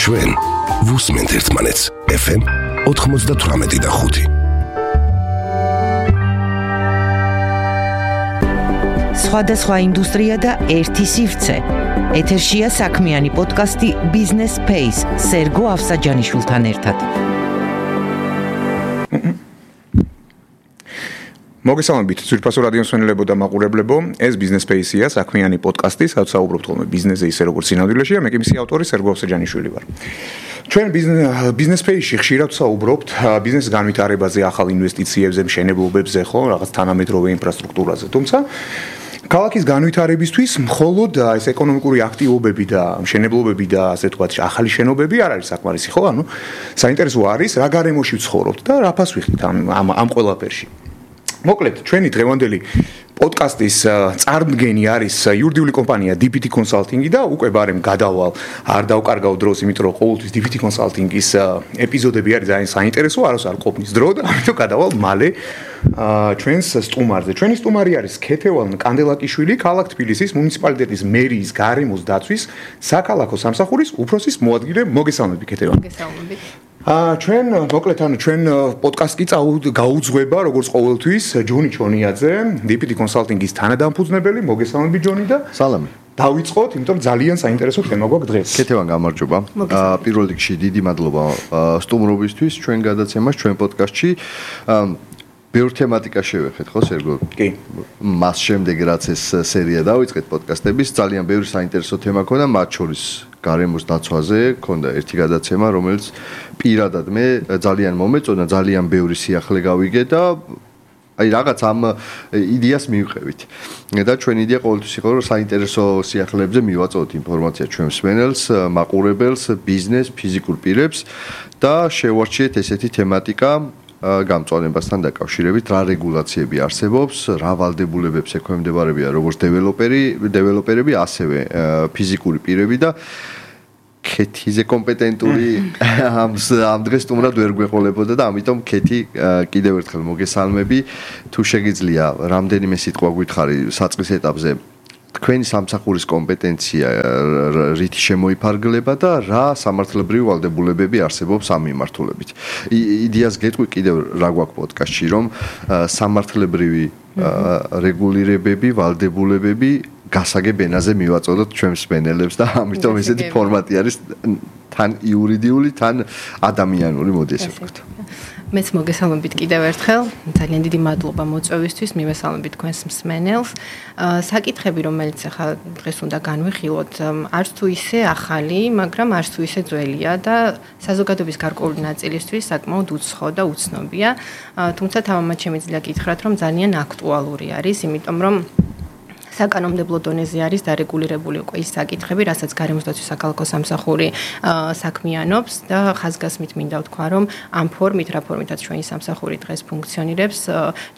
ჩვენ ვუსმენთ ერთმანეთს FM 98.5. სხვადასხვა ინდუსტრია და ერთი სივრცე. ეთერშია საქმიანი პოდკასტი Business Space სერგო ავსაჯანიშვილთან ერთად. მოგესალმებით, ძვირფასო რადიო მსმენელებო და მაყურებლებო. ეს Business Space-ია, საქმიანი პოდკასტი, სადაც საუბრობთ ხოლმე ბიზნესზე ისე როგორც სინამდვილეშია. მე კი მისი ავტორი სერგო ავსაჯანიშვილი ვარ. ჩვენ Business Space-ში ხშირად საუბრობთ ბიზნესის განვითარებაზე, ახალ ინვესტიციებზე, მშენებლობებზე, ხო, რაღაც თანამედროვე ინფრასტრუქტურაზე. თუმცა ქალაქის განვითარებისთვის მხოლოდ ეს ეკონომიკური აქტივობები და მშენებლობები და ასე ვთქვათ, ახალი შენობები არ არის საკმარისი, ხო? ანუ საინტერესო არის რა გარემოში ვცხოვრობთ და რა ფას ვიხდით ამ ყველაფერში. მოკლედ, ჩვენი დღევანდელი პოდკასტის წარმდგენი არის იურიდიული კომპანია DPT Consulting და უკვე ბარემ გადავალ, არ დავკარგავ დროს, იმიტომ რომ ყოველთვის DPT Consulting-ის ეპიზოდები არის ძალიან საინტერესო, არას არ ყოფნის დრო და ამიტომ გადავალ მალე ჩვენს სტუმარზე. ჩვენი სტუმარი არის ქეთევან კანდელაკიშვილი, ქალაქ თბილისის მუნიციპალიტეტის მერიის გარემოს დაცვის საქალაქო სამსახურის უფროსის მოადგილე. მოგესალმებით, ქეთევან. მოგესალმებით. ჩვენ მოკლედ ჩვენ პოდკასტი გაუძღვება როგორც ყოველთვის ჯონი ჩონიაძე, DPT Consulting-ის თანადამფუძნებელი. მოგესალმებით ჯონი და სალამი. დავიწყოთ, იმიტომ რომ ძალიან საინტერესო თემა გვაქვს დღეს. ქეთევან გამარჯობა. პირველ რიგში დიდი მადლობა სტუმრობისთვის ჩვენ გადაცემას ჩვენ პოდკასტში. ბევრ თემატიკას შევეხეთ, ხო, სერგო? კი. მას შემდეგ რაც ეს სერია დავიწყეთ პოდკასტების, ძალიან ბევრი საინტერესო თემა ქონდა, მათ შორის გარემოს დაცვაზე ქონდა ერთი გადაცემა, რომელიც პირადად მე ძალიან მომეწონა, ძალიან ბევრი სიახლე გავიგე და აი რაღაც ამ იდეას მივყევით. და ჩვენი იდეა ყოველთვის იყო, რომ საინტერესო სიახლეებზე მივაწოდოთ ინფორმაცია ჩვენ მსმენელს, მაყურებელს, ბიზნეს, ფიზიკურ პირებს და შევარჩიეთ ესეთი თემატიკა გამწვანებასთან დაკავშირებით, რა რეგულაციები არსებობს, რა ვალდებულებებს ექვემდებარებიან როგორც დეველოპერები, ასევე ფიზიკური პირები და ქეთიზე კომპეტენტური ამ დღეს სტუმრად ვერ გვეყოლებოდა და ამიტომ ქეთი კიდევ ერთხელ მოგესალმები. თუ შეგიძლია რამდენიმე სიტყვა გითხარი საწყის ეტაპზე თქვენი სამსახურის კომპეტენცია რითი შემოიფარგლება და რა სამართლებრივი ვალდებულებები არსებობს ამ მიმართულებით. იდეას გეტყვი კიდევ რა გვაქვს პოდკასტში, რომ სამართლებრივი რეგულირებები, ვალდებულებები გასაგებ ენაზე მივაწოდოთ ჩვენ მსმენელებს და ამიტომ ესეთი ფორმატი არის თან იურიდიული, თან ადამიანური, მოდი ესე ვთქვათ. მეც მოგესალმებით კიდევ ერთხელ. ძალიან დიდი მადლობა მოწვევისთვის, მივესალმებით თქვენს მსმენელს. საკითხები, რომელიც ახლა დღეს უნდა განვიხილოთ, არც თუ ისე ახალი, მაგრამ არც თუ ისე ძველია და საზოგადოების გარკვეული ნაწილისთვის საკმაოდ უცხო და უცნობია. თუმცა თავმად შემიძლია გითხრათ, რომ ძალიან აქტუალური არის, იმიტომ რომ საკანონმდებლო დონეზე არის დარეგულირებული უკვე ის საკითხები, რასაც გარემოს დაცვის საქალაქო სამსახური საქმიანობს და ხაზგასმით მინდა ვთქვა, რომ ამ ფორმით, რა ფორმითაც ჩვენი სამსახური დღეს ფუნქციონირებს,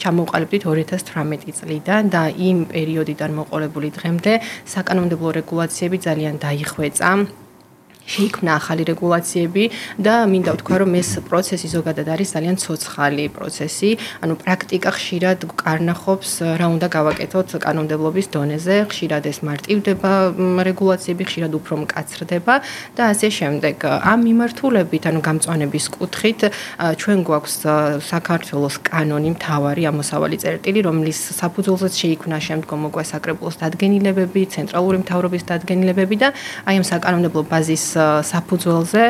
ჩამოვყალიბდით 2018 წლიდან და იმ პერიოდიდან მოყოლებული დღემდე საკანონმდებლო რეგულაციები ძალიან დაიხვეწა. შეიქმნა ახალი რეგულაციები და მინდა ვთქვა, რომ ეს პროცესი ზოგადად არის ძალიან ცოცხალი პროცესი, ანუ პრაქტიკა ხშირად კარნახობს რა უნდა გავაკეთოთ კანონმდებლობის დონეზე, ხშირად ეს მარტივდება რეგულაციები, ხშირად უფრო მკაცრდება და ასე შემდეგ. ამ მიმართულებით, ანუ გამწვანების კუთხით, ჩვენ გვაქვს საქართველოს კანონი, მთავარი ამოსავალი წერტილი, რომლის საფუძველზეც შეიქმნა შემდგომ უკვე საკრებულოს დადგენილებები, ცენტრალური მთავრობის დადგენილებები და აი ამ საკანონმდებლო ბაზის საფუძველზე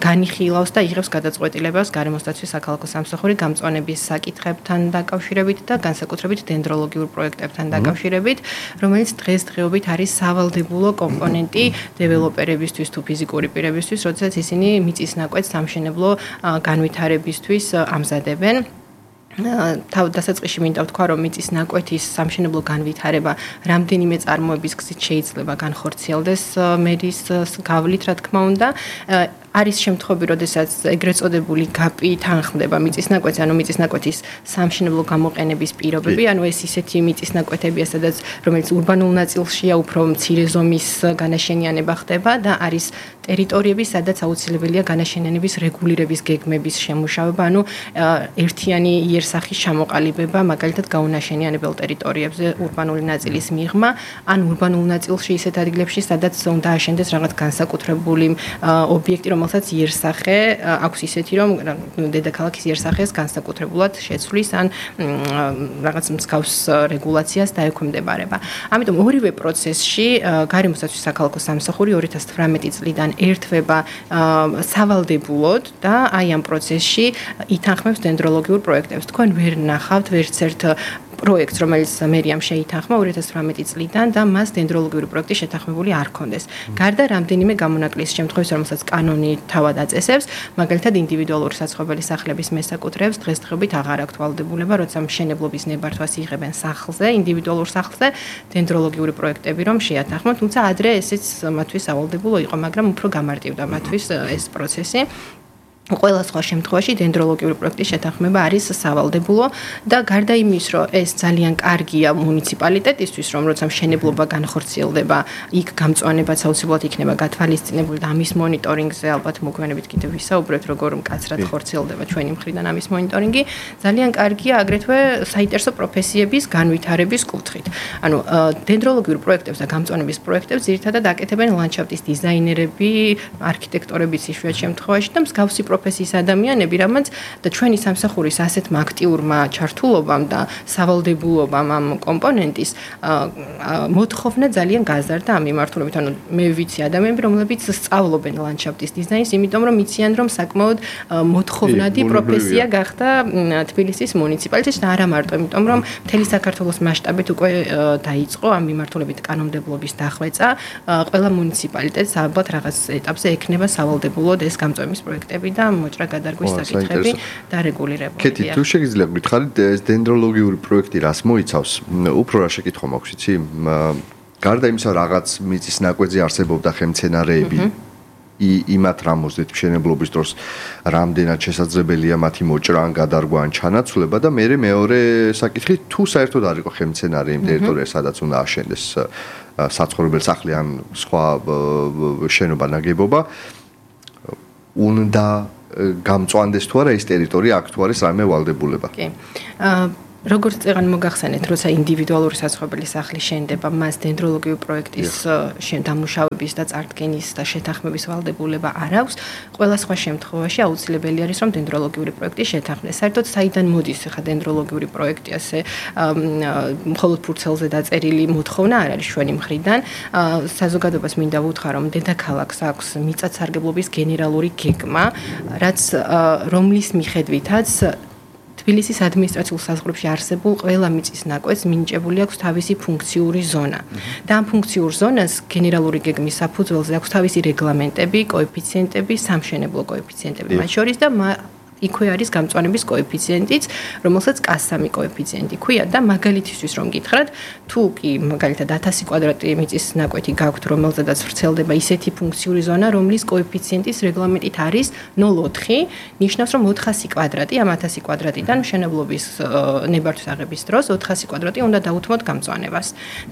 განიხილავს და იღებს გადაწყვეტილებას გარემოს დაცვის საქალაქო სამსახური გამწვანების საკითხებთან დაკავშირებით და განსაკუთრებით დენდროლოგიურ პროექტებთან დაკავშირებით, რომელიც დღესდღეობით არის სავალდებულო კომპონენტი დეველოპერებისთვის თუ ფიზიკური პირებისთვის, როდესაც ისინი მიწის ნაკვეთს სამშენებლო განვითარებისთვის ამზადებენ. დასაწყისში მინდა ვთქვა, რომ მიწის ნაკვეთის სამშენებლო განვითარება რამდენიმე წარმოების გზით შეიძლება განხორციელდეს მერის გავლით, რა თქმა უნდა. არის შემთხვევები, როდესაც ეგრეთ წოდებული გაპი თანხმდება მიწისნაკვეთს, ანუ მიწისნაკვეთის სამშენებლო გამოყენების პირობები, ანუ ეს ისეთი მიწისნაკვეთებია, სადაც რომელიც ურბანულ ნაწილშია უფრო მცირე ზომის განაშენიანება ხდება და არის ტერიტორიები, სადაც აუცილებელია განაშენიანების რეგულირების გეგმების შემუშავება, ანუ ერთიანი იერსახის ჩამოყალიბება, მაგალითად გაუნაშენიანებელ ტერიტორიებზე ურბანული ნაწილის მიღმა, ან ურბანულ ნაწილში ისეთ ადგილებში, სადაც უნდა აშენდეს რაღაც განსაკუთრებული ობიექტი, რომელსაც იერსახე აქვს ისეთი, რომ დედაქალაქის იერსახეს განსაკუთრებულად შეცვლის ან რაღაც მსგავს რეგულაციას დაექვემდებარება. ამიტომ ორივე პროცესში გარემოსაცვის საქალაქო სამსახური 2018 წლიდან ერთვება სავალდებულოდ და აი ამ პროცესში ითანხმებს დენდროლოგიურ პროექტებს. თქვენ ვერ ნახავთ ვერც ერთ პროექტს, რომელიც მერიამ შეითანხმა 2018 წლიდან და მას დენდროლოგიური პროექტი შეთანხმებული არ ჰქონდეს. გარდა რამდენიმე გამონაკლისის შემთხვევაში, რომელსაც კანონი თავად აწესებს, მაგალითად ინდივიდუალური საცხოვრებელი სახლების მესაკუთრეებს დღესდღეობით აღარ აქვს ვალდებულება, როცა მშენებლობის ნებართვას იღებენ სახლზე, ინდივიდუალურ სახლზე, დენდროლოგიური პროექტები რომ შეათანხმონ, თუმცა ადრე ესეც მათთვის ავალდებულო იყო, მაგრამ უფრო გამარტივდა მათთვის ეს პროცესი. ყველა სხვა შემთხვევაში დენდროლოგიური პროექტის შეთანხმება არის სავალდებულო და გარდა იმის, რომ ეს ძალიან კარგია მუნიციპალიტეტისთვის, რომ როცა მშენებლობა განხორციელდება, იქ გამწვანებაც აუცილებლად იქნება გათვალისწინებული და ამის მონიტორინგზე ალბათ მოგვიანებით კიდევ ვისაუბრებთ, როგორ მკაცრად ხორციელდება ჩვენი მხრიდან ამის მონიტორინგი. ძალიან კარგია აგრეთვე საინტერესო პროფესიების განვითარების კუთხით. ანუ დენდროლოგიურ პროექტებს და გამწვანების პროექტებს ძირითადად აკეთებენ ლანდშაფტის დიზაინერები, არქიტექტორებიც იშვიათ შემთხვევაში და მსგავსი პროფესიის ადამიანები, რამაც და ჩვენი სამსახურის ასეთმა აქტიურმა ჩართულობამ და სავალდებულობამ ამ კომპონენტის მოთხოვნა ძალიან გაზარდა ამ მიმართულებით. ანუ მე ვიცი ადამიანები, რომლებიც სწავლობენ ლანდშაფტის დიზაინს, იმიტომ რომ იციან, რომ საკმაოდ მოთხოვნადი პროფესია გახდა თბილისის მუნიციპალიტეტში და არა მარტო, იმიტომ რომ მთელი საქართველოს მასშტაბით უკვე დაიწყო ამ მიმართულებით კანონმდებლობის დახვეწა. ყველა მუნიციპალიტეტს ალბათ რაღაც ეტაპზე ექნება სავალდებულოდ ეს გამწვანის პროექტები და მოჭრა გადარგვის საკითხები დარეგულირებული. კეთი, თუ შეგიძლიათ გითხარით, ეს დენდროლოგიური პროექტი რას მოიცავს? უფრო რა შეკითხვა მაქვს, იცი? გარდა იმისა, რაღაც მიწის ნაკვეთზე არსებობდა ხელმცენარეები, იმათ რამოსდეთ მშენებლობის დროს რამდენად შესაძლებელია მათი მოჭრა ან გადარგვა ან ჩანაცვლება და მეორე საკითხი, თუ საერთოდ არ იყო ხელმცენარე იმ ტერიტორიაზე, სადაც უნდა აშენდეს საცხოვრებელი სახლი ან სხვა შენობა ნაგებობა, უნდა გამწვანდეს თუ არა ეს ტერიტორია აქ თუ არის რამე ვალდებულება. კი. როგორც წეგან მოგახსენეთ, როცა ინდივიდუალური საცხოვრებელი სახლი შენდება, მას დენდროლოგიური პროექტის დამუშავების და წარდგენის და შეთანხმების ვალდებულება არ აქვს. ყველა სხვა შემთხვევაში აუცილებელი არის, რომ დენდროლოგიური პროექტი შეთანხმდეს. საერთოდ საიდან მოდის ხა დენდროლოგიური პროექტი, ასე მხოლოდ ფურცელზე დაწერილი მოთხოვნა არ არის ჩვენი მხრიდან. საზოგადოებას მინდა ვუთხრა, რომ დედაქალაქს აქვს მიწათსარგებლობის გენერალური გეგმა, რაც რომლის მიხედვითაც თბილისის ადმინისტრაციულ საზღვრებში არსებულ ყველა მიწის ნაკვეთს მინიჭებული აქვს თავისი ფუნქციური ზონა. და ამ ფუნქციურ ზონას გენერალური გეგმის საფუძველზე აქვს თავისი რეგლამენტები, კოეფიციენტები, სამშენებლო კოეფიციენტები მათ შორის და იქვე არის გამწვანების კოეფიციენტიც, რომელსაც K3 კოეფიციენტი ქვია და მაგალითისთვის რომ გითხრათ, თუ კი მაგალითად 1000 კვადრატი მიწის ნაკვეთი გაქვთ, რომელზედაც ვრცელდება ისეთი ფუნქციური ზონა, რომლის კოეფიციენტის რეგლამენტით არის 0.4, ნიშნავს რომ 400 კვადრატი ამ 1000 კვადრატიდან მშენებლობის ნებართვის აღების დროს 400 კვადრატი უნდა დაუთმოთ გამწვანებას.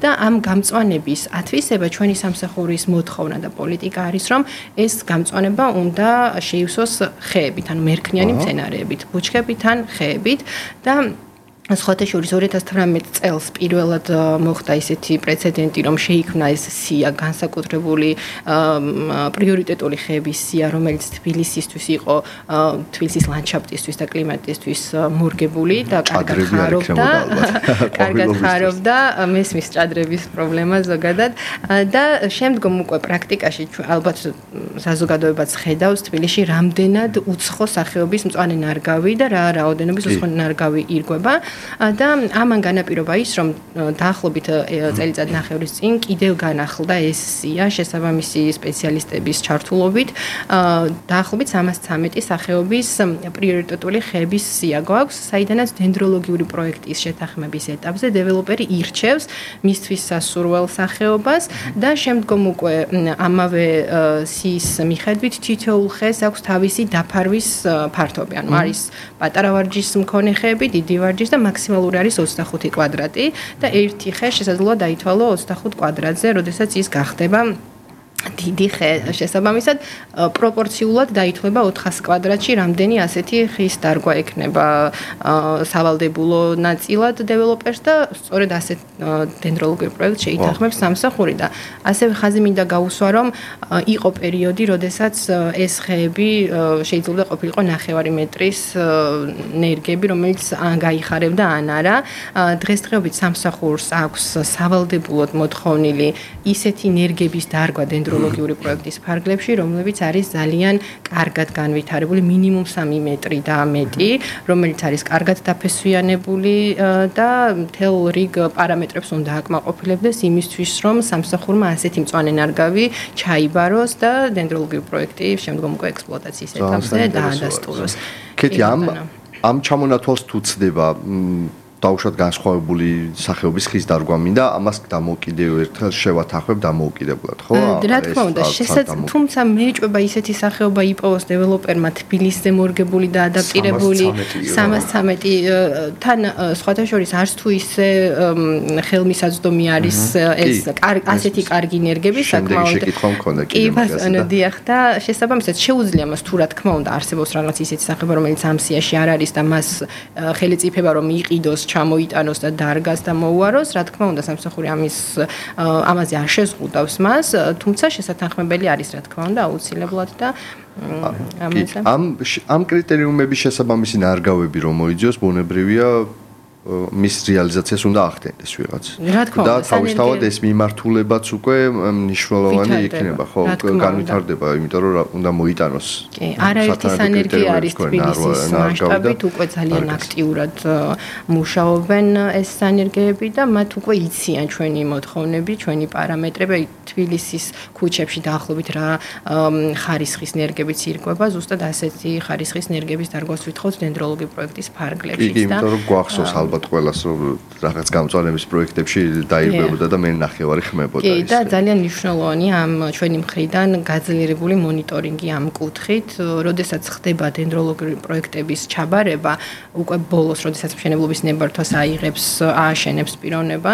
და ამ გამწვანების ათვისება ჩვენი სამსახურის მოთხოვნა და პოლიტიკა არის, რომ ეს გამწვანება უნდა შეივსოს ხეებით, ანუ მერქნიანი მცენარეებით, ბუჩქებით ან ხეებით და სხვათა შორის 2018 წელს პირველად მოხდა ისეთი პრეცედენტი, რომ შეიქმნა ეს სია განსაკუთრებული პრიორიტეტული ხეების სია, რომელიც თბილისისთვის იყო თბილისის ლანდშაფტისთვის და კლიმატისთვის მორგებული და კარგად ხარობდა მესმის ჭადრების პრობლემა ზოგადად და შემდგომ უკვე პრაქტიკაში ალბათ საზოგადოებაც ხედავს თბილისში რამდენად უცხო სახეობის მწვანე ნარგავი და რა რაოდენობის უცხო ნარგავი ირგვება. და ამან განაპირობა ის, რომ დაახლოებით წელიწად ნახევრის წინ კიდევ განახლდა ეს სია შესაბამისი სპეციალისტების ჩართულობით. დაახლოებით 313 სახეობის პრიორიტეტული ხეების სია გვაქვს, საიდანაც დენდროლოგიური პროექტის შეთანხმების ეტაპზე დეველოპერი ირჩევს მისთვის სასურველ სახეობას და შემდგომ უკვე ამავე სიის მიხედვით თითოეულ ხეს აქვს თავისი დაფარვის ფართობი. ანუ არის პატარა ვარჯიშის მქონე ხეები, დიდი ვარჯიშის და მაქსიმალური არის 25 კვადრატი და ერთი ხე შესაძლოა დაითვალო 25 კვადრატზე, როდესაც ის გახდება დიდი ხე. შესაბამისად პროპორციულად დაითვლება 400 კვადრატში რამდენი ასეთი ხის დარგვა ექნება სავალდებულო ნაწილად დეველოპერს და სწორედ ასეთ დენდროლოგიურ პროექტს შეითანხმებს სამსახური და ასევე ხაზი მინდა გაუსვა რომ იყო პერიოდი, როდესაც ეს ხეები შეიძლება ყოფილიყო 9 მეტრის ნერგები, რომელიც ან გაიხარებდა ან არა. დღესდღეობით სამსახურს აქვს სავალდებულოდ მოთხოვნილი ისეთი ნერგების დარგვა დენდროლოგიური პროექტის ფარგლებში, რომლებიც არის ძალიან კარგად განვითარებული, მინიმუმ 3 მეტრი და მეტი, რომელიც არის კარგად დაფესვიანებული და მთელ რიგ პარამეტრებს უნდა აკმაყოფილებდეს იმისთვის, რომ სამსახურმა ასეთი მწვანე ნარგავი ჩაიბაროს და დენდროლოგიური პროექტი შემდგომ უკვე ექსპლუატაციის ეტაპზე დაადასტუროს. კეთი, ამ ჩამონათვალს თუ ცდება დაუშვათ განსხვავებული სახეობის ხის დარგვა მინდა, ამას დამოუკიდევ ერთხელ შევათანხმებ დამოუკიდებლად, ხო? რა თქმა უნდა, თუმცა მეეჭვება ისეთი სახეობა იპოვოს დეველოპერმა თბილისზე მორგებული და ადაპტირებული 313 თან სხვათა შორის არც თუ ისე ხელმისაწვდომი არის ეს ასეთი კარგი ნერგები საკმაოდ. შეკითხვა მქონდა კი, დიახ და შესაბამისად შეუძლია მას თუ რა თქმა უნდა არსებობს რაღაც ისეთი სახეობა, რომელიც ამ სიაში არ არის და მას ხელიწიფება რომ იყიდოს ჩამოიტანოს და დარგას და მოუაროს, რა თქმა უნდა სამსახური ამაზე არ შეზღუდავს მას, თუმცა შესათანხმებელი არის რა თქმა უნდა აუცილებლად და ამ კრიტერიუმების შესაბამისი ნარგავები რომ მოიძიოს, ბუნებრივია მის რეალიზაციას უნდა ახდენდეს ვიღაც. და თავისთავად ეს მიმართულებაც უკვე მნიშვნელოვანი იქნება, ხო, განვითარდება, იმიტომ რომ უნდა მოიტანოს. კი, არაერთი სანერგია არის თბილისის მასშტაბით, უკვე ძალიან აქტიურად მუშაობენ ეს სანერგეები და მათ უკვე იციან ჩვენი მოთხოვნები, ჩვენი პარამეტრები, თბილისის ქუჩებში დაახლოებით რა ხარისხის ნერგებიც ირკვება, ზუსტად ასეთი ხარისხის ნერგების დარგვას ვითხოვთ დენდროლოგიურ პროექტის ფარგლებშიც და იმიტომ რომ გვახსოვს ალბათ ყველას რომ რაღაც გამწვანების პროექტებში დაირღვებოდა და მე ნახევარი ხმებოდა ის. კი, და ძალიან მნიშვნელოვანია ამ ჩვენი მხრიდან გაძლიერებული მონიტორინგი ამ კუთხით, როდესაც ხდება დენდროლოგიური პროექტების ჩაბარება, უკვე ბოლოს, როდესაც მშენებლობის ნებართვას აიღებს, ააშენებს პიროვნება,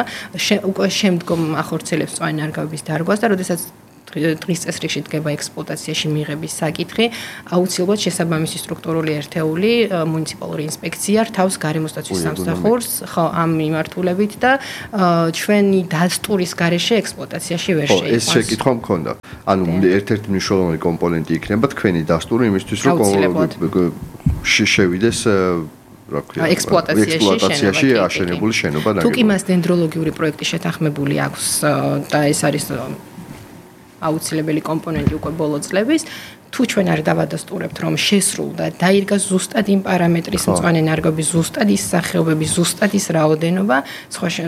უკვე შემდგომ ახორციელებს მწვანე ნარგავების დარგვას და როდესაც დღის წესრიგში დგება ექსპლუატაციაში მიღების საკითხი, აუცილებლად შესაბამისი სტრუქტურული ერთეული მუნიციპალური ინსპექცია რთავს გარემოსდაცვის სამსახურს, ხო, ამ მიმართულებით და ჩვენი დასტურის გარეშე ექსპლუატაციაში ვერ შეიყვანს. ეს შეკითხვა მქონდა. ანუ ერთ-ერთი მნიშვნელოვანი კომპონენტი იქნება თქვენი დასტური იმისთვის, რომ შევიდეს ექსპლუატაციაში აშენებული შენობა და თუ კი მას დენდროლოგიური პროექტი შეთანხმებული აქვს და ეს არის აუცილებელი კომპონენტი უკვე ბოლო წლების, თუ ჩვენ არ დავადასტურებთ, რომ შესრულდა, დაირგა ზუსტად იმ პარამეტრის მწვანე ნარგავების, ზუსტად ის სახეობების, ზუსტად ის რაოდენობა,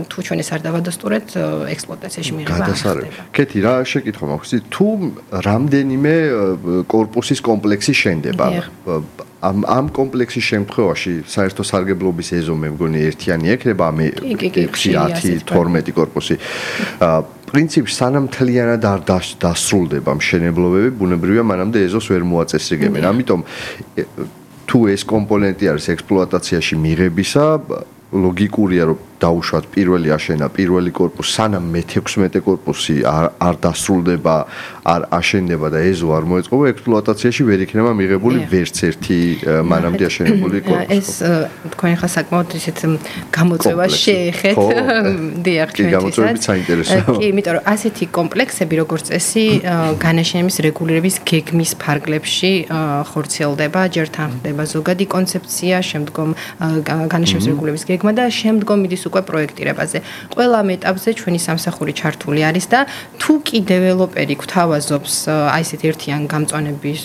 თუ ჩვენ ეს არ დავადასტურებთ, ექსპლუატაციაში მიღება არ ხდება. კეთი, რა შეკითხვა მაქვს? თუ რამდენიმე კორპუსის კომპლექსი შენდება, ამ კომპლექსის შემთხვევაში საერთო სარგებლობის ეზო მე მგონი ერთიანი ექნება, მე 10, 12 კორპუსი. პრინციპში სანამ მთლიანად არ დასრულდება მშენებლობები, ბუნებრივია მანამდე ეზოს ვერ მოაწესრიგებენ. ამიტომ თუ ეს კომპონენტი არის ექსპლუატაციაში მიღებისა, ლოგიკურია რომ დაუშვათ პირველი აშენა პირველი კორპუსი, სანამ მე-16 კორპუსი არ დასრულდება, არ აშენდება და ეზო არ მოეწყობა, ექსპლუატაციაში ვერ იქნება მიღებული ვერც ერთი მანამდე აშენებული კორპუსი. ეს თქვენ ხა საკმაოდ ისეთ გამოწვევას შეეხეთ, დიახ, ჩვენთვისაც. კი, გამოწვევებიც საინტერესოა. კი, იმიტომ რომ ასეთი კომპლექსები როგორც წესი განაშენების რეგულირების გეგმის ფარგლებში ხორციელდება, ჯერ თანხმდება ზოგადი კონცეფცია, შემდგომ განაშენების რეგულირების გეგმა და შემდგომ მიდის უკვე პროექტირებაზე. ყველა ამ ეტაპზე ჩვენი სამსახური ჩართული არის და თუ კი დეველოპერი გვთავაზობს აი ესეთ ერთიან გამწვანების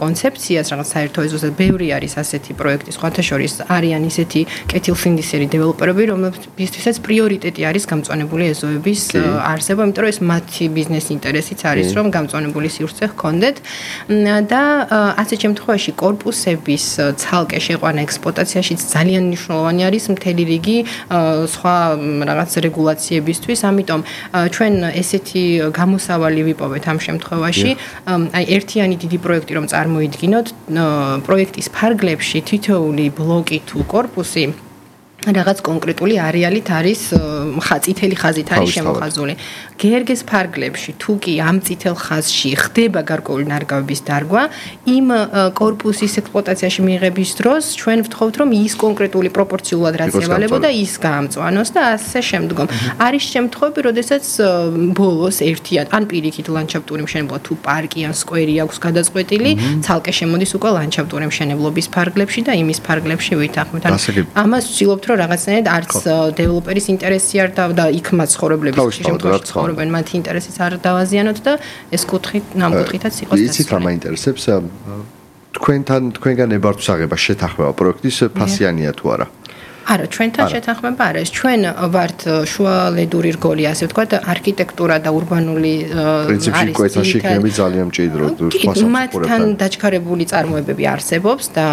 კონცეფციას, რაღაც საერთო ეზოზე ბევრი არის ასეთი პროექტი, სხვათა შორის არიან ისეთი კეთილსინდისერი დეველოპერები, რომლებისთვისაც პრიორიტეტი არის გამწვანებული ეზოების არსება, იმიტომ რომ ეს მათი ბიზნეს ინტერესიც არის, რომ გამწვანებული სივრცე ჰქონდეთ და ასეთ შემთხვევაში კორპუსების ცალკე შეყვანა ექსპლუატაციაშიც ძალიან მნიშვნელოვანი არის მთელი რიგი სხვა რაღაც რეგულაციებისთვის, ამიტომ ჩვენ ესეთი გამოსავალი ვიპოვეთ ამ შემთხვევაში, აი ერთიანი დიდი პროექტი რომ წარმოიდგინოთ, პროექტის ფარგლებში თითოეული ბლოკი თუ კორპუსი რაღაც კონკრეტული არეალით არის წითელი ხაზით არის შემოხაზული. გერგეს ფარგლებში თუ კი ამ წითელ ხაზში ხდება გარკვეული ნარგავების დარგვა, იმ კორპუსის ექსპლუატაციაში მიიღების დროს ჩვენ ვთხოვთ, რომ ის კონკრეტული პროპორციულად რაც ევალებოდა, ის გაამწვანოს და ასე შემდგომ. არის შემთხვევები, როდესაც ბოლოს ერთიან ან პირიქით ლანდშაფტური მშენებლობა თუ პარკი ან სკვერი აქვს გადაწყვეტილი, ცალკე შემოდის უკვე ლანდშაფტური მშენებლობის ფარგლებში და იმის ფარგლებში ვითანხმებთ. ამას ვცდილობთ, რომ რაღაცნაირად არც დეველოპერის ინტერესი არ და იქ მაცხოვრებლების შემთხვევაში ცხოვრობენ მათი ინტერესიც არ დავაზიანოთ და ეს კუთხით ნამკუთხითაც იყოს და იცით რა მაინტერესებს თქვენგან ნებართვსაღება შეთანხმება პროექტის ფასიანია თუ არა არა, ჩვენთან შეთანხმება არ არის. ჩვენ ვართ შუალედური რგოლი, ასე ვთქვათ, არქიტექტურა და ურბანული პრინციპში კვეთაში იქნება ძალიან მჭიდრო მათთან დაჩქარებული წარმოებები არსებობს და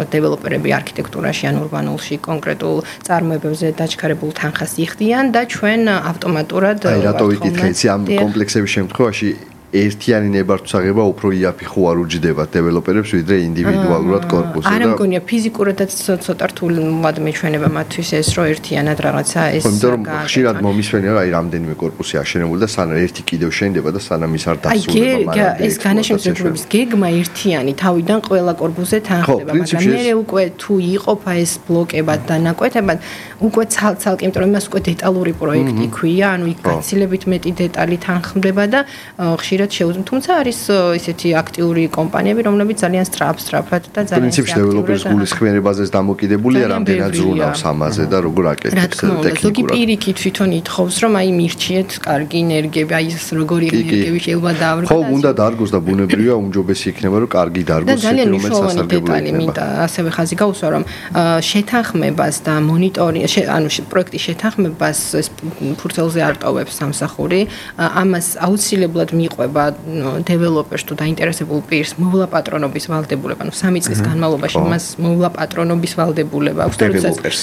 დეველოპერები არქიტექტურაში ან ურბანულში კონკრეტულ წარმოებებზე დაჩქარებულ თანხას იხდიან და ჩვენ ავტომატურად აი რატო ვიკითხე იცი ამ კომპლექსების შემთხვევაში ერთიანი ნებართვსაღება უფრო იაფი ხო არ უჯდება დეველოპერებს ვიდრე ინდივიდუალურად კორპუსზე და არ მგონია ფიზიკურადაც ცოტა რთულად მეჩვენება მათთვის ეს რომ ერთიანად რაღაცა ეს იმიტომ რომ ხშირად მომისვენია აი რამდენიმე კორპუსი აშენებული და სანამ ერთი კიდევ შენდება და სანამ ის არ დასრულდება მაგრამ ეს განაშემსრულების გეგმა ერთიანი თავიდან ყველა კორპუსზე თანხდება მაგრამ მე უკვე თუ იყოფა ეს ბლოკებად და ნაკვეთებად უკვე ცალ-ცალკე იმიტომ რომ იმას უკვე დეტალური პროექტი ქვია ანუ იქ გაცილებით მეტი დეტალი თანხმდება და ხშირად თუმცა არის ისეთი აქტიური კომპანიები, რომლებიც ძალიან სწრაფად და ძალიან პრინციპში დეველოპერის გულისხმიერებაზეც დამოკიდებულია, რამდენად ზრუნავს ამაზე და როგორ აკეთებს ტექნიკურად. ზოგი პირიქით თვითონ ითხოვს, რომ აი მირჩიეთ კარგი ენერგიები, აი ეს როგორი ენერგიები შეიძლება დაავრგოს. ხო, უნდა დარგოს და ბუნებრივია უმჯობესი იქნება, რომ კარგი დარგოს, რომელიც სასარგებლოა. მინდა ასევე ხაზი გაუსვა, რომ შეთანხმებას და მონიტორინგს, ანუ პროექტის შეთანხმებას ეს ფურცელზე არ ტოვებს სამსახური, ამას აუცილებლად მიყვება დეველოპერს თუ დაინტერესებულ პირს მოვლა პატრონობის ვალდებულება, ანუ 3 წლის განმავლობაში მას მოვლა პატრონობის ვალდებულება აქვს.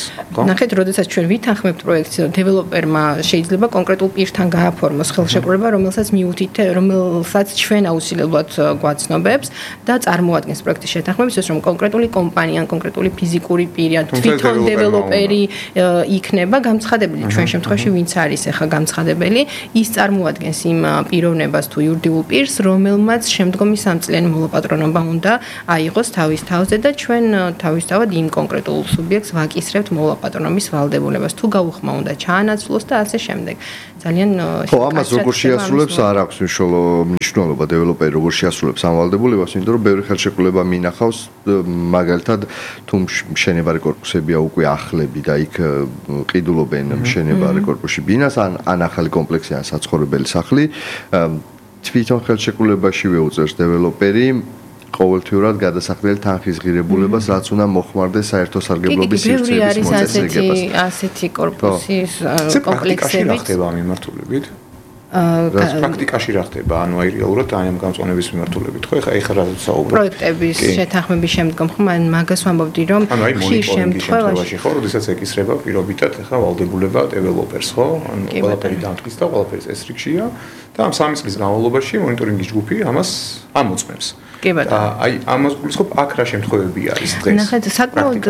ნახეთ, როდესაც ჩვენ ვითანხმებთ პროექტს, დეველოპერმა შეიძლება კონკრეტულ პირთან გააფორმოს ხელშეკრულება, რომელსაც ჩვენ აუცილებლად გვაცნობებს და წარმოადგენს პროექტის შეთანხმებას, ის რომ კონკრეტული კომპანია, კონკრეტული ფიზიკური პირი, თვითონ დეველოპერი იქნება გამცხადებელი. ჩვენ შემთხვევაში ვინც არის ახლა გამცხადებელი, ის წარმოადგენს იმ პიროვნებას თუ იურიდიულ პირს, რომელმაც შემდგომი 3 წლიანი მოლაპატრონობა უნდა აიღოს თავის თავზე და ჩვენ თავისთავად იმ კონკრეტულ სუბიექტს ვაკისრებთ მოლაპატრონობის ვალდებულებას. თუ გაუხმა უნდა ჩაანაცვლოს და ასე შემდეგ. ძალიან ხო, ამას როგორ შეასრულებს არ აქვს მნიშვნელობა დეველოპერი როგორ შეასრულებს ამ ვალდებულებას, იმიტომ რომ ბევრი ხელშეკრულება მინახავს, მაგალითად თუ მშენებარე კორპუსებია უკვე ახლები და იქ ყიდულობენ მშენებარე კორპუსში ბინას ან ახალი კომპლექსი ან საცხოვრებელი სახლი თვითონ ხელშეკრულებაშივე უწევს დეველოპერი ყოველთვიურად გადასახდელი თანხის ღირებულებას, რაც უნდა მოხმარდეს საერთო სარგებლობის სივრცეების მოწესრიგებას. ასეთი კორპუსის კომპლექსები ხდება მიმართულებით. პრაქტიკაში რა ხდება? ანუ აი რეალურად აი ამ გამწვანების მიმართულებით ხო? ეხლა რა საუბრობ? პროექტების შეთანხმების შემდგომ ხო მაგას ვამბობდი რომ ხშირ შემთხვევაში ხო, როდესაც ეკისრება პირობიტად ეხლა ვალდებულება დეველოპერს ხო? ანუ ყველაფერი დამტკიცდა და ყველაფერი წესრიგშია და ამ 3 წლის განმავლობაში მონიტორინგის ჯგუფი ამას ამოწმებს. კი ბატონო. აი ამას გულისხმობ აქ რა შემთხვევები არის დღეს? ნახეთ, საკმაოდ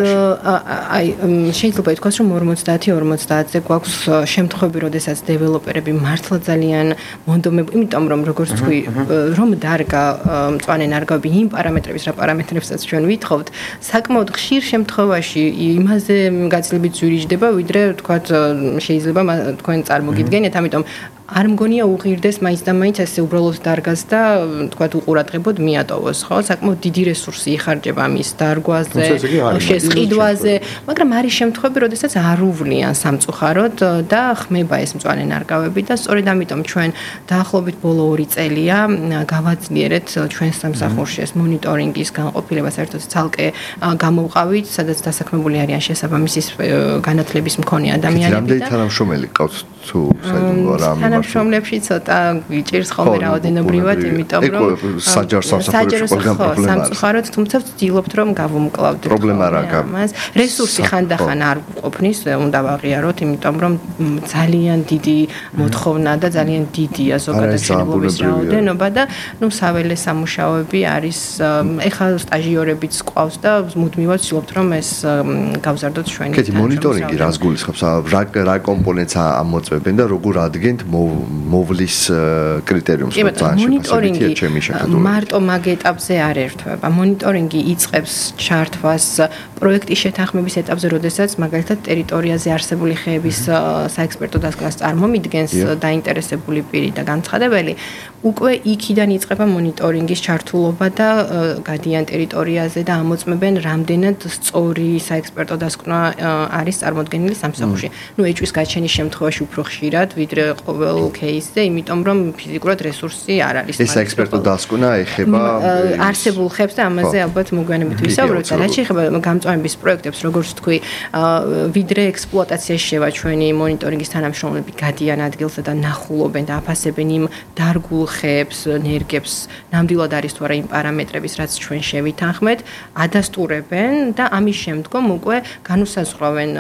აი შეიძლება ითქვას რომ 50-50-ზე გვაქვს შემთხვევები, როდესაც დეველოპერები მართლა ძალიან მონდომები, იმიტომ რომ როგორც თქვი, რომ დარგა მწვანე ნარგავები იმ პარამეტრების რა პარამეტრებსაც ჩვენ ვითხოვთ, საკმაოდ ხშირ შემთხვევაში იმაზე გაცილებით ზვირიჯდება, ვიდრე თქვათ შეიძლება თქვენ წარმოგიდგენიათ, ამიტომ არ მგონია უღირდეს მაინც და მაინც ესე უბრალოდ დარგას და თქვათ უყურადღებოდ მიატოვოს, ხო? საკმაოდ დიდი რესურსი იხარჯება მის დარგვაზე, შესყიდვაზე, მაგრამ არის შემთხვევები, როდესაც არ უვლიან სამწუხაროდ და ხმება ეს მწვანე ნარგავები და სწორედ ამიტომ ჩვენ დაახლოებით ბოლო 2 წელია გავაძლიერეთ ჩვენ სამსახურში ეს მონიტორინგის განყოფილება საერთოდ ცალკე გამოვყავით, სადაც დასაქმებული არიან შესაბამისი განათლების მქონე ადამიანები და რამდენი თანამშრომელი ყავთ თუ საერთოდ რა თანამშრომლებში ცოტა გვიჭირს ხოლმე რაოდენობრივად, იმიტომ რომ საჯარო სამსახურებში ყველგან პრობლემა არის. სამწუხაროდ, თუმცა ვცდილობთ რომ გავუმკლავდეთ. პრობლემა რა გაქვს? რესურსი ხანდახან არ ყოფნის, უნდა ვაღიაროთ, იმიტომ რომ ძალიან დიდი მოთხოვნა და ძალიან დიდია ზოგადად შენებლობის რაოდენობა და საველე სამუშაოები არის. ეხლა სტაჟიორებიც ყავს და მუდმივად ვცდილობთ რომ ეს გავზარდოთ ჩვენი. კეთი მონიტორინგი რას გულისხმობს? რა კომპონენტს ამოწმებენ და როგორ ადგენთ მოვლის კრიტერიუმს? მონიტორინგი მარტო მაგ ეტაპზე არ ერთვება. მონიტორინგი იწყებს ჩართვას პროექტის შეთანხმების ეტაპზე, როდესაც მაგალითად ტერიტორიაზე არსებული ხეების საექსპერტო დასკვნას წარმომიდგენს დაინტერესებული პირი და განცხადებელი, უკვე იქიდან იწყება მონიტორინგის ჩართულობა და გადიან ტერიტორიაზე და ამოწმებენ რამდენად სწორი საექსპერტო დასკვნა არის წარმოდგენილი სამსახურში. ეჭვის გაჩენის შემთხვევაში უფრო ხშირად, ვიდრე ყოველ кейსზე, იმიტომ რომ ფიზიკურად რესურსი არ არის. ეს საექსპერტო დასკვნა ეხება არსებულ ხებს და ამაზე ალბათ მოგვიანებით ვისაუბროთ. რაც შეეხება გამწვანების პროექტებს, როგორც თქვი, ვიდრე ექსპლუატაციაში შევა ჩვენი მონიტორინგის თანამშრომლები გადიან ადგილსა და ნახულობენ და აფასებენ იმ დარგულ ხეებს, ნერგებს, ნამდვილად არის თუ არა იმ პარამეტრების, რაც ჩვენ შევითანხმეთ, ადასტურებენ და ამის შემდგომ უკვე განუსაზღვრავენ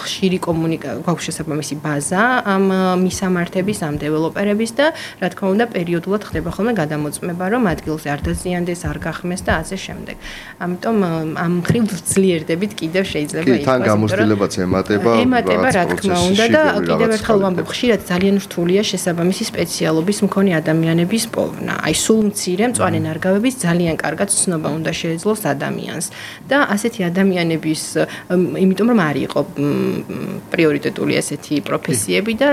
ხშირი გვაქვს შესაბამისი ბაზა ამ მისამართების, ამ დეველოპერების და რა თქმა უნდა პერიოდულად ხდება ხოლმე გადამოწმება, რომ ადგილზე არ დაზიანდეს, არ გახმეს და ასე შემდეგ. ამიტომ ამ მხრივ ძლიერდებით კიდევ შეიძლება ითქვას. თან გამოცდილებაც ემატება, რა თქმა უნდა და კიდევ ერთხელ ვამბობ, ხშირად ძალიან რთულია შესაბამისი სპეციალობის მქონე ადამიანების პოვნა. აი სულ მცირე მწვანე ნარგავების ძალიან კარგად ცნობა უნდა შეეძლოს ადამიანს და ასეთი ადამიანების, იმიტომ რომ არ იყო პრიორიტეტული ესეთი პროფესიები და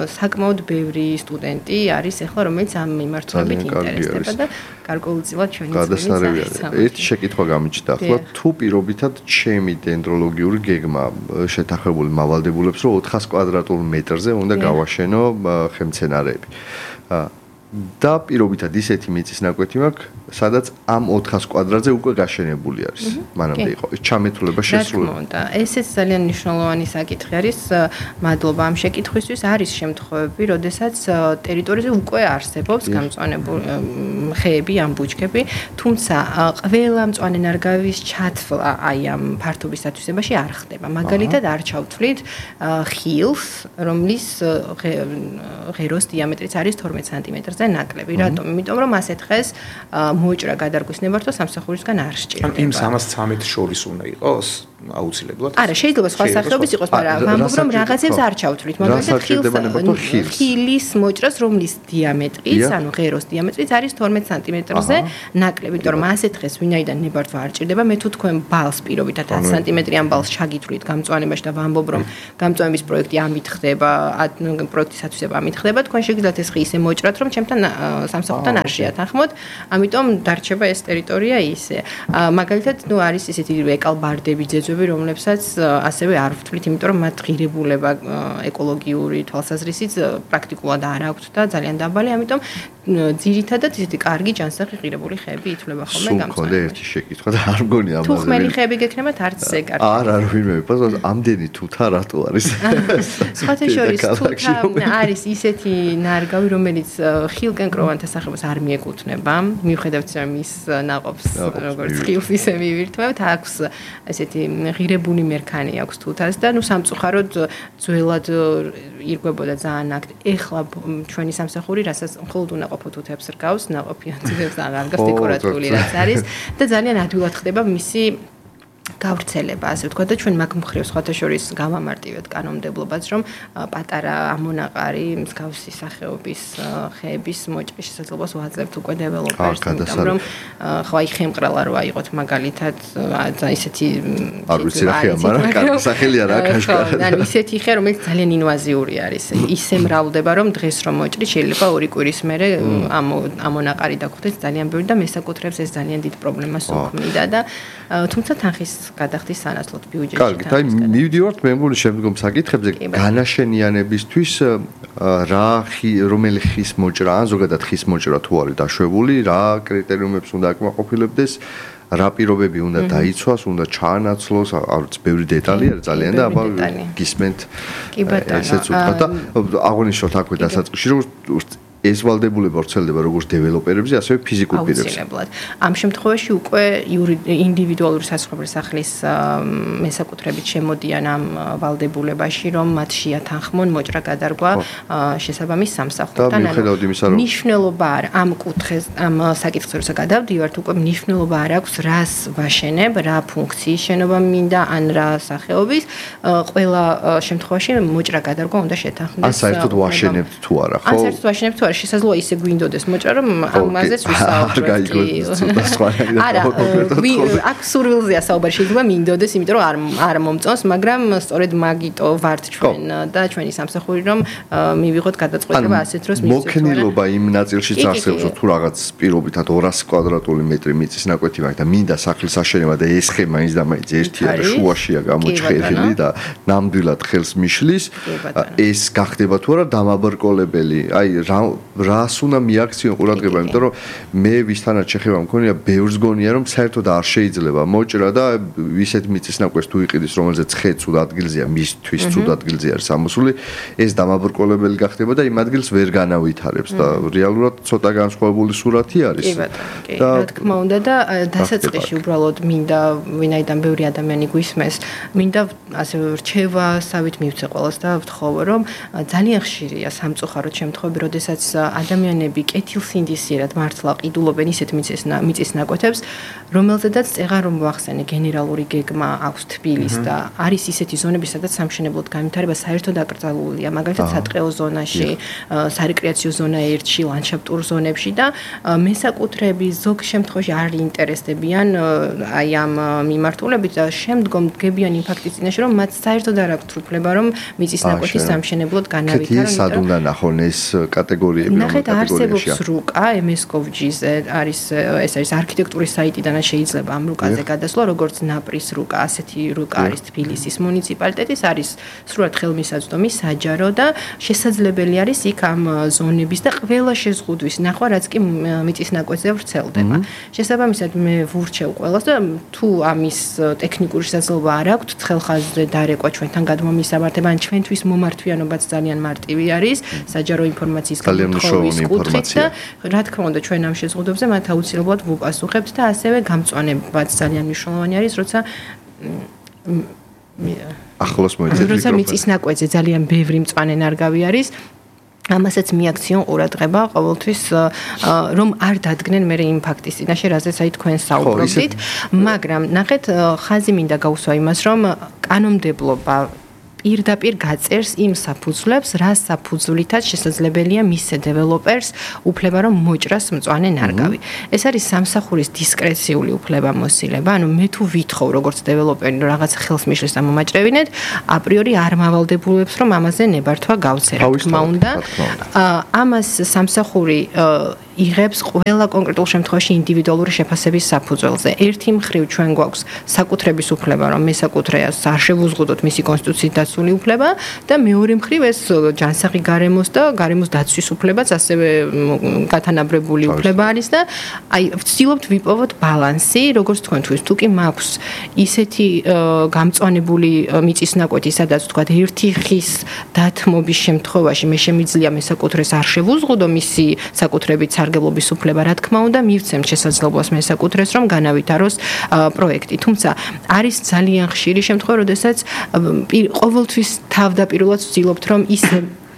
საკმაოდ ბევრი სტუდენტი არის ახლა, რომელიც ამ მიმართულებით ინტერესდება და გარკვეულწილად ჩვენი გადასარევი არის. ერთი შეკითხვა გამიჩნდა, ახლა თუ პირობითად ჩემი დენდროლოგიური გეგმა შეთანხმებული მავალდებულებს, რომ 400 კვადრატულ მეტრზე უნდა გავაშენო ხემცენარეები. და პირობითად ისეთი მიწის ნაკვეთი მაქვს, სადაც ამ 400 კვადრატზე უკვე გაშენებული არის. მანამდე იყო ეს ჩამეთვლება შესრულებული. ესეც ძალიან მნიშვნელოვანი საკითხი არის. მადლობა ამ შეკითხვისთვის. არის შემთხვევები, როდესაც ტერიტორიაზე უკვე არსებობს გამწვანებული ხეები, ამ ბუჩქები, თუმცა ყველა მწვანე ნარგავის ჩათვლა აი ამ ფართობის დათვისებაში არ ხდება. მაგალითად, არ ჩავთვლით ხილს, რომლის ღეროს დიამეტრიც არის 12 სანტიმეტრზე ნაკლები. რატომ? იმიტომ რომ ასეთ ხეს მოჭრა გადარგვის ნებართვა სამსახურისგან არ სჭირდება. იმ 313 შორის უნდა იყოს აუცილებლად. არა, შეიძლება სხვა სახეობის იყოს, მაგრამ ვამბობ რომ რაღაცებს არ ჩავთვლით. მაგალითად, ხილის მოჭრას, რომლის დიამეტრიც, ანუ ღეროს დიამეტრიც არის 12 სანტიმეტრზე ნაკლები. იმიტომ რომ ასეთ ხეს ვინაიდან ნებართვა არ ჭირდება, მე თუ თქვენ ბალს პირობითად 10 სანტიმეტრიან ბალს ჩაგითვლით გამწვანებაში და ვამბობ რომ გამწვანების პროექტი ამით ხდება, პროექტის ათვისება ამით ხდება, თქვენ შეგიძლიათ ეს ხი ისე მოჭრათ, რომ ჩემთან სამსახურთან არ შეათანხმოთ, ამიტომ დარჩება ეს ტერიტორია ისე. მაგალითად, არის ისეთი ეკალბარდები, ძეძვები, რომლებსაც ასევე არ ვთვლით, იმიტომ რომ მათ ღირებულება ეკოლოგიური თვალსაზრისით პრაქტიკულად არ აქვთ და ძალიან დაბალი, ამიტომ ძირითადად ისეთი კარგი ჯანსაღი ღირებული ხეები ითვლება ხოლმე გამწვანებაში. სულ ერთი შეკითხვა და არ მგონი ამაზე. თუ ხმელი ხეები გექნებათ, არც ესე კარგი. არა, ვინმე, პასუხ ამდენი თუთა რატო არის? სხვათა შორის თუთა არის ისეთი ნარგავი, რომელიც ხილკენკროვანთა სახელოს არ მიეკუთვნება, მიუხედავად რომ ის ნაყოფს როგორც ხილს ისე მივირთმევთ, აქვს ესეთი ღირებული მერქანი აქვს თუთას და სამწუხაროდ ძველად ირგვებოდა ძალიან აქტ. ეხლა ჩვენი სამსახური, რასაც მხოლოდ უნაყოფო თუთებს რგავს, ნაყოფიან თუთებს აღარ რგავს, დეკორატიული რაც არის და ძალიან ადვილად ხდება მისი გავრცელება, ასე ვთქვათ და ჩვენ მაგ მხრივ სხვათა შორის გავამარტივეთ კანონმდებლობას, რომ პატარა ამონაყარი მსგავსი სახეობის ხეების მოჭრის შესაძლებლობას ვაძლევთ უკვე დეველოპერს, იმიტომ რომ ხო აი ხემყრალა რო აიღოთ მაგალითად ისეთი არ ვიცი რა ხეა, მაგრამ კარგი სახელი არა კაშკარა. ანუ ისეთი ხე, რომელიც ძალიან ინვაზიური არის. ისე მრავლდება, რომ დღეს რომ მოჭრი შეიძლება 2 კვირის მერე ამონაყარი დაგხვდეს ძალიან ბევრი და მესაკუთრებს ეს ძალიან დიდ პრობლემას უქმნიდა და თუმცა თანხის გადახდის სანაცვლოდ ბიუჯეტში. კარგი, და მივდივართ მე მგონი შემდგომ საკითხებზე განაშენიანებისთვის რომელი ხის მოჭრა ან ზოგადად ხის მოჭრა თუ არის დაშვებული, რა კრიტერიუმებს უნდა აკმაყოფილებდეს, რა პირობები უნდა დაიცვას, უნდა ჩაანაცვლოს, არც ბევრი დეტალი არის ძალიან და აბა გისმენთ ესეც უთხრა და აღნიშნოთ აქვე დასაწყისში რომ ეს ვალდებულება ვრცელდება როგორც დეველოპერებზე, ასევე ფიზიკურ პირებზე. ამ შემთხვევაში უკვე ინდივიდუალური საცხოვრებელი სახლის მესაკუთრებით შემოდიან ამ ვალდებულებაში, რომ მათ შეათანხმონ მოჭრა გადარგვა შესაბამის სამსახურთან. მნიშვნელობა არ ამ კუთხეს, ამ საკითხზე როცა გადავდივართ, უკვე მნიშვნელობა არ აქვს, რას ვაშენებ, რა ფუნქციის შენობა მინდა, ან რა სახეობის. ყველა შემთხვევაში მოჭრა გადარგვა უნდა შეთანხმდეს. ან საერთოდ ვაშენებთ თუ არა, ხო? ან საერთოდ ვაშენებთ თუ არა, შესაძლოა ისე გვინდოდეს მოჭრა, რომ ამაზეც ვისაუბრებთ. არა, აქ სურვილზეა საუბარი, შეიძლება მინდოდეს, იმიტომ რომ არ მომწონს, მაგრამ სწორედ მაგიტო ვართ ჩვენ და ჩვენი სამსახური, რომ მივიღოთ გადაწყვეტილება ასეთ დროს მივცეთ. მოქნილობა იმ ნაწილშიც არსებობს, თუ რაღაც პირობითად 200 კვადრატული მეტრი მიწის ნაკვეთი მაქვს და მინდა სახლის აშენება და ეს ხე მაინც და მაინც ერთი არის, შუაშია გამოჩხერილი და ნამდვილად ხელს მიშლის, ეს გახდება თუ არა დამაბრკოლებელი. აი რას უნდა მიაქციონ ყურადღება, იმიტომ რომ მე ვისთანაც შეხება მქონია, ბევრს გონია რომ საერთოდ არ შეიძლება მოჭრა და ისეთ მიწის ნაკვეთს თუ იყიდის, რომელზეც ხე ცუდ ადგილზეა, მისთვის ცუდ ადგილზე არის ამოსული, ეს დამაბრკოლებელი გახდება და იმ ადგილს ვერ განავითარებს და რეალურად ცოტა განსხვავებული სურათი არის. და რა თქმა უნდა და დასაწყისში უბრალოდ მინდა ვინაიდან ბევრი ადამიანი გვისმენს, მინდა ასე რჩევასავით მივცე ყველას და ვთხოვო, რომ ძალიან ხშირია სამწუხაროდ შემთხვევები, როდესაც ადამიანები კეთილსინდისიერად მართლა ყიდულობენ ისეთ მიწის ნაკვეთებს, რომელზედაც წეღარ რომ ვახსენე გენერალური გეგმა აქვს თბილის და არის ისეთი ზონები, სადაც სამშენებლოდ განვითარება საერთოდ აკრძალულია, მაგალითად სატყეო ზონაში, სარეკრეაციო ზონა 1-ში, ლანდშაფტურ ზონებში და მესაკუთრეები ზოგ შემთხვევაში არ ინტერესდებიან აი ამ მიმართულებით და შემდგომ დგებიან იმ ფაქტის წინაშე, რომ მათ საერთოდ არ აქვთ უფლება, რომ მიწის ნაკვეთი სამშენებლოდ განავითარონ. სად უნდა ნახონ ეს კატეგორიები, ნახეთ, არსებობს რუკა MS-Gov.gz-ზე, ეს არის არქიტექტურის საიტიდან შეიძლება ამ რუკაზე გადასვლა, როგორც ნაპრის რუკა, ასეთი რუკა არის თბილისის მუნიციპალიტეტის, არის სრულად ხელმისაწვდომი, საჯარო და შესაძლებელი არის იქ ამ ზონების და ყველა შეზღუდვის ნახვა, რაც კი მიწის ნაკვეთზე ვრცელდება. შესაბამისად მე ვურჩევ ყველას და თუ ამის ტექნიკური შესაძლებლობა არ აქვთ, ცხელხაზზე დარეკვა ჩვენთან გადმომისამართება, ან ჩვენთვის მომართვიანობაც ძალიან მარტივი არის, საჯარო ინფორმაციის გამოთხოვის კუთხით და რა თქმა უნდა ჩვენ ამ შეზღუდვებზე მათ აუცილებლად ვუპასუხებთ და ასევე გამწვანებაც ძალიან მნიშვნელოვანი არის, როცა ახლოს მოიწევთ როცა მიწის ნაკვეთზე ძალიან ბევრი მწვანე ნარგავი არის, ამასაც მიაქციონ ყურადღება ყოველთვის, რომ არ დადგნენ მე იმ ფაქტის წინაშე, რაზეც აი თქვენ საუბრობთ, მაგრამ ნახეთ, ხაზი მინდა გავუსვა იმას, რომ კანონმდებლობა პირდაპირ გაწერს იმ საფუძვლებს, რა საფუძვლითაც შესაძლებელია მისცე დეველოპერს უფლება, რომ მოჭრას მწვანე ნარგავი. ეს არის სამსახურის დისკრეციული უფლებამოსილება, ანუ მე თუ ვითხოვ როგორც დეველოპერი რაღაც ხელს მიშლის და მომაჭრევინეთ, აპრიორი არ მავალდებულებს, რომ ამაზე ნებართვა გავცე, რა თქმა უნდა. ამას სამსახური იღებს ყველა კონკრეტულ შემთხვევაში ინდივიდუალური შეფასების საფუძველზე. ერთი მხრივ ჩვენ გვაქვს საკუთრების უფლება, რომ მესაკუთრეას არ შევუზღუდოთ მისი კონსტიტუციით დაცული უფლება და მეორე მხრივ ეს ჯანსაღი გარემოს და გარემოს დაცვის უფლებაც ასევე გათანაბრებული უფლება არის და აი ვცდილობთ ვიპოვოთ ბალანსი, როგორც თქვენთვის. თუ კი მაქვს ისეთი გამწვანებული მიწის ნაკვეთი, სადაც თქვა ერთი ხის დათმობის შემთხვევაში მე შემიძლია მესაკუთრეს არ შევუზღუდო მისი საკუთრებით სარგებლობის უფლება, რა თქმა უნდა, მივცემთ შესაძლებლობას მესაკუთრეს, რომ განავითაროს პროექტი. თუმცა არის ძალიან ხშირი შემთხვევა, როდესაც ყოველთვის თავდაპირველად ვცდილობთ, რომ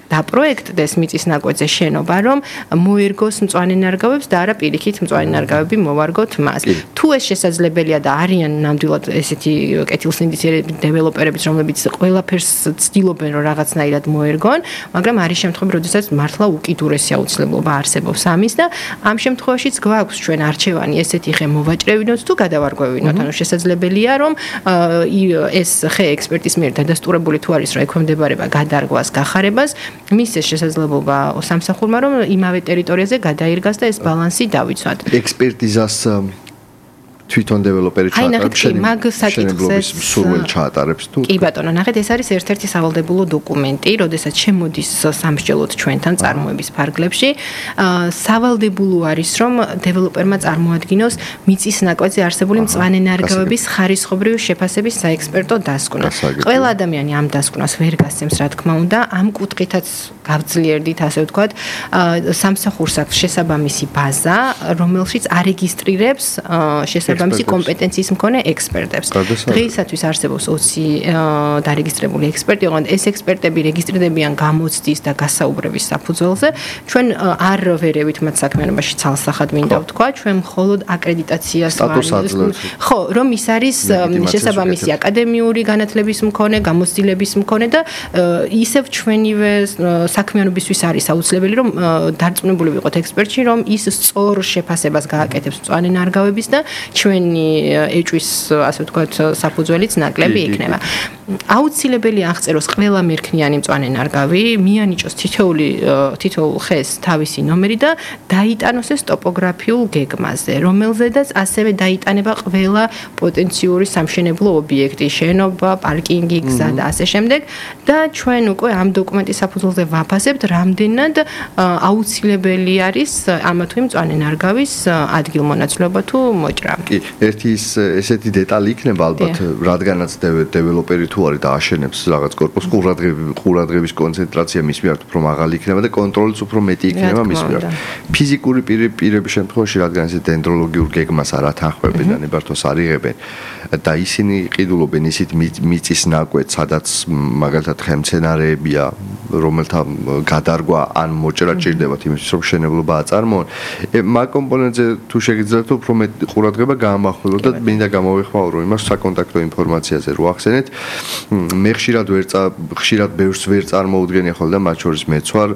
დაპროექტდეს მიწის ნაკვეთზე შენობა, რომ მოერგოს მწვანე ნარგავებს და არა პირიქით მწვანე ნარგავები მოვარგოთ მას. თუ ეს შესაძლებელია და არიან ნამდვილად ესეთი კეთილსინდისიერი დეველოპერებიც, რომლებიც ყველაფერს ცდილობენ, რომ რაღაცნაირად მოერგონ, მაგრამ არის შემთხვევები, როდესაც მართლა უკიდურესი აუცილებლობა არსებობს ამის და ამ შემთხვევაშიც გვაქვს ჩვენ არჩევანი ესეთი ხე მოვაჭრევინოთ თუ გადავარგვევინოთ. ანუ შესაძლებელია, რომ ეს ხე ექსპერტის მიერ დადასტურებული თუ არის, რომ ექვემდებარება გადარგვას, გახარებას, მისცეს შესაძლებლობა სამსახურმა, რომ იმავე ტერიტორიაზე გადაირგას და ეს ბალანსი დავიცვათ. ექსპერტიზას თვითონ დეველოპერი ჩაატარებს შენებლობის სურვილი ჩაატარებს თუ კი ბატონო, ნახეთ, ეს არის ერთ-ერთი სავალდებულო დოკუმენტი, როდესაც შემოდის სამსჯელოდ ჩვენთან წარმოების ფარგლებში. სავალდებულო არის, რომ დეველოპერმა წარმოადგინოს მიწის ნაკვეთზე არსებული მწვანე ნარგავების ხარისხობრივი შეფასების საექსპერტო დასკვნა. ყველა ადამიანი ამ დასკვნას ვერ გასცემს, რა თქმა უნდა, ამ კუთხითაც გავძლიერდით, ასე ვთქვათ, სამსახურს აქვს შესაბამისი ბაზა, რომელშიც არეგისტრირებს შესაბამისი კომპეტენციის მქონე ექსპერტებს. დღეისათვის არსებობს 20 დარეგისტრირებული ექსპერტი, ოღონდ ეს ექსპერტები რეგისტრირდებიან გამოცდის და გასაუბრების საფუძველზე. ჩვენ არ ვერევით მათ საქმიანობაში ცალსახად მინდა ვთქვა, ჩვენ მხოლოდ აკრედიტაციას ხო, რომ ის არის შესაბამისი აკადემიური განათლების მქონე, გამოცდილების მქონე და ისევ ჩვენივე საქმიანობისთვის არის აუცილებელი, რომ დარწმუნებული ვიყოთ ექსპერტში, რომ ის სწორ შეფასებას გააკეთებს მწვანე ნარგავების და ჩვენი ეჭვის, ასე ვთქვათ, საფუძველიც ნაკლები იქნება. აუცილებელი აღწეროს ყველა მერქნიანი მწვანე ნარგავი, მიანიჭოს თითოეულ ხეს თავისი ნომერი და დაიტანოს ეს ტოპოგრაფიულ გეგმაზე, რომელზედაც ასევე დაიტანება ყველა პოტენციური სამშენებლო ობიექტი, შენობა, პარკინგი, გზა და ასე შემდეგ და ჩვენ უკვე ამ დოკუმენტის საფუძველზე ვაფასებთ, რამდენად აუცილებელი არის ამა თუ იმ მწვანე ნარგავის ადგილმონაცვლეობა თუ მოჭრა. კი, ერთი ესეთი დეტალი იქნება ალბათ, რადგანაც დეველოპერი თუ არის და აშენებს რაღაც კორპუსს, ყურადღების კონცენტრაცია მის მიერ უფრო მაღალი იქნება და კონტროლიც უფრო მეტი იქნება მის მიერ. ფიზიკური პირების შემთხვევაში, რადგან ესე დენდროლოგიურ გეგმას არ ათანხმებენ და ნებართვას არ იღებენ და ისინი ყიდულობენ ისეთ მიწის ნაკვეთს, სადაც მაგალითად ხემცენარეებია, რომელთა გადარგვა ან მოჭრა ჭირდებათ იმისთვის, რომ შენებლობა აწარმოონ. მაგ კომპონენტზე თუ შეგიძლიათ უფრო მეტი ყურადღება გაამახვილოთ და მინდა გამოვეხმაურო იმას საკონტაქტო ინფორმაციაზე რო ახსენეთ. მე ხშირად ბევრს ვერ წარმოუდგენია ხოლმე და მათ შორის მეც ვარ,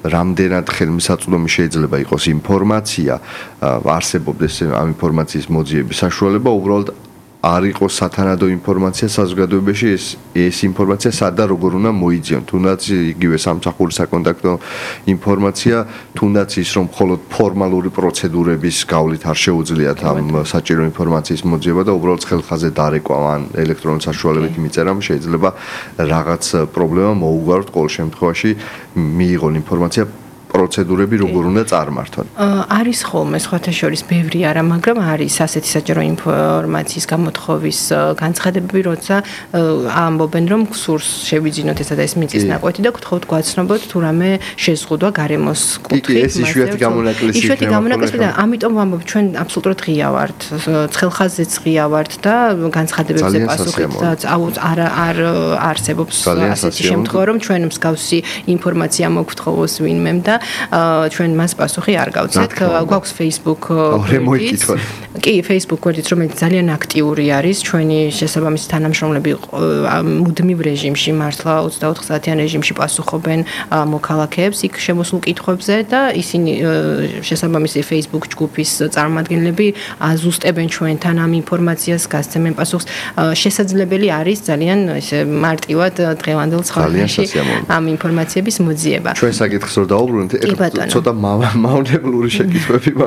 რამდენად ხელმისაწვდომი შეიძლება იყოს ინფორმაცია, არსებობდეს ამ ინფორმაციის მოძიების საშუალება, უბრალოდ არ იყოს სათანადო ინფორმაცია საზოგადოებაში, ეს ინფორმაცია სად და როგორ უნდა მოიძიონ, თუნდაც იგივე სამსახურის საკონტაქტო ინფორმაცია, თუნდაც ის, რომ მხოლოდ ფორმალური პროცედურების გავლით არ შეუძლიათ ამ საჭირო ინფორმაციის მოძიება და უბრალოდ ხელხაზე დარეკვა ან ელექტრონული საშუალებით მიწერამ შეიძლება რაღაც პრობლემა მოუგვაროთ, ყოველ შემთხვევაში მიიღონ ინფორმაცია პროცედურები როგორ უნდა წარმართონ. არის ხოლმე სხვათა შორის ბევრი არა, მაგრამ არის ასეთი საჯარო ინფორმაციის გამოთხოვის განცხადებები, როცა ამბობენ, რომ გსურს შევიძინოთ ესა და ეს მიწის ნაკვეთი და გთხოვთ გვაცნობოთ თუ რამე შეზღუდვა გარემოს კუთხით. კი, ეს იშვიათი გამონაკლისი იქნება. იშვიათი გამონაკლისი და ამიტომ ვამბობ, ჩვენ absolutურად ღია ვართ, ცხელხაზეც ღია ვართ და განცხადებებზე პასუხით არ არსებობს ასეთი შემთხვევა, რომ ჩვენ მსგავსი ინფორმაცია მოგთხოვოს ვინმემ და ჩვენ მას პასუხი არ გავცეთ. გვაქვს Facebook კი, Facebook გვერდით, რომელიც ძალიან აქტიური არის, ჩვენი შესაბამისი თანამშრომლები მუდმივ რეჟიმში, მართლა 24 საათიან რეჟიმში პასუხობენ მოქალაქეებს იქ შემოსულ კითხვებზე და ისინი შესაბამისი Facebook ჯგუფის წარმომადგენლები აზუსტებენ ჩვენთან ამ ინფორმაციას, გასცემენ პასუხს. შესაძლებელი არის ძალიან ესე მარტივად დღევანდელ ცხოვრებაში ამ ინფორმაციების მოძიება. ჩვენ საკითხს რო დაუბრუნდით, ცოტა მავნებლური შეკითხვები